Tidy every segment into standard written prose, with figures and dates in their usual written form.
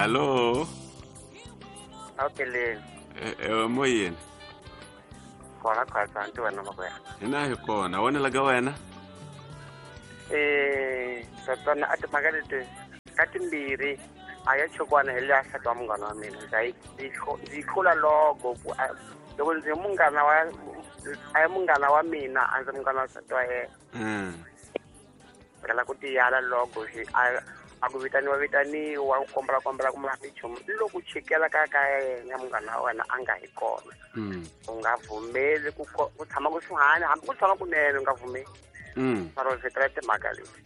Alô? Awukeleni. Moyeni. Kona khwatsa nti wena makwerhu. Hina hi kona, wena la ka wena? Tatana a timhaka leti ka timbirhi a ya chokwana hi leya nsati wa munghana wa mina ndza yi ndzi yi hlula loko ku loko ndzi munghana wa a ya munghana wa mina a ndzi munghana wa nsati wa yena. Phela ku tiyala loko xi a ku vitaniwa vitaniwa ku kombela kombela ku mara nchumu loko chikela ka ka yena munghana wa wena a nga hi kona. U nga vhumeli ku ku tshama kusuhani hambi ku tshama kunene u nga vhumeli. Mara u vhetela timhaka leti.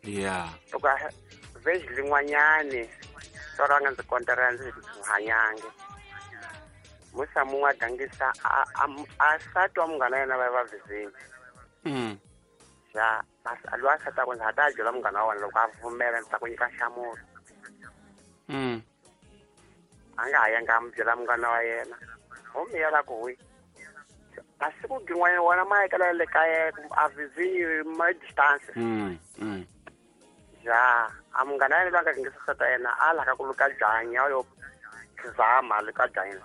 Yeah. Loko vhezi lin'wanyani to ra nga ndzi kontera ndzi hanyangi. Musa mun'we a gangisa a nsati wa munghana yena va va vhizini. Ya loyi a nsati wa ndzi ha ta byela munghana wa wena loko a pfumela ndzi ta ku nyika nhlamulo. A nga ha yanga a mi byela munghana wa yena. Homi ya la ku wi. Masiku gin'wanyana wona ma yekela le kaya a vizinyi ma distance. Ya a munghana yena loyi a nga gangisa nsati wa yena a laka ku luka byanyi a yo zama luka byanyi.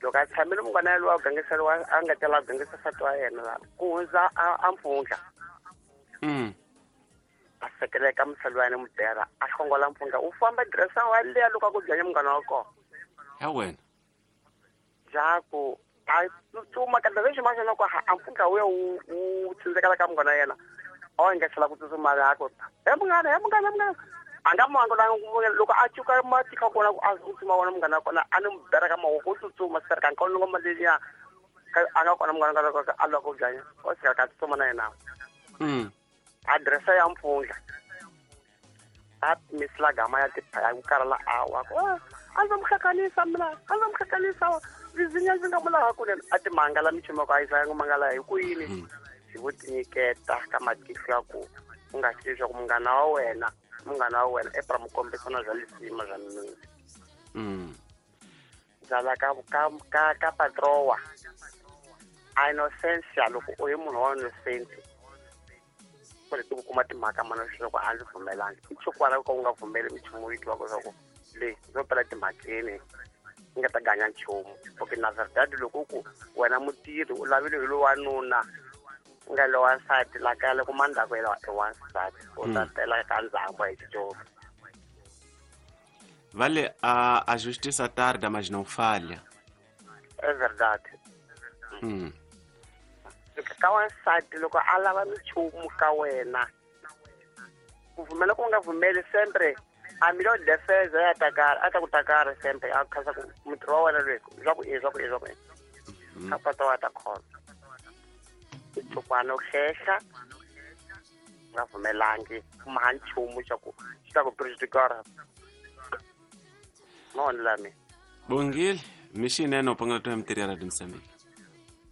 Loko a tshamile munghana yena loyi a gangiseriwa a nga tela a gangisa nsati wa yena la ku hundza a mpfundla. A sekeleka musali wa yena mudera a hlongola mpfundla u famba dresa wa leya loko a ku byanya munghana wa kona. Ya wena. Jaku a tsutsuma ka lexi ma xana ku a mpfundla wu ya wu tsindzekela ka munghana wa yena. A wu engetela ku tsutsuma la ku he munghana he munghana munghana. A nga munghana loko a cuka matika kona a tsutsuma wona munghana wa kona a ni mu bera ka mavoko u tsutsuma swi ka nkawu ngoma leliya a nga kona munghana wa kona a lava ku byanya o sika ka tsutsuma na yena. Adirese ya mpfundla a misila gama ya tiphaya ku karhala a wa ku a ndzi mu hlanganisa mina a ndzi mu hlanganisa vizinya ndzi nga mu lava kunene a timangala minchumu ya ku a yisa nga mangala hi ku yini hi ku tinyiketa ka matihlo ya ku u nga swi leswaku munghana wa wena e pra mu kombisana bya lisima bya mina. Byala ka ka ka ka patroa a innocentia loko u yi munhu wa innocent ku ri ku kuma timhaka mana leswaku a ndzi pfumelangi i chukwala ka u nga pfumeli minchumu yi twiwaka leswaku leyi ndzo pela timhakeni yi nga ta ganya nchumu. Okay na verdade loko ku wena mutirhi u lavile hi loyi wanuna u nga loyi wansati la kaya loko mandzhaku yena i wansati u ta tela ka ndzhaku hi xicovi. Vale a justiça tarda mas não falha. É verdade. Ka wansati loko a lava minchumu ka wena ku pfumela ku nga pfumeli sempre a melhor defesa ya atacar a ta ku takara sempre a khasa ku mutirhi wa wena loyi swa ku swa ku swa ku ka pata wa ta khona tsukwana u hlehla nga pfumelangi kuma nchumu xa ku xi ta ku prejudicar no lami Bongile mixinene u pangela to ya mitirhi ya Radio Mozambique.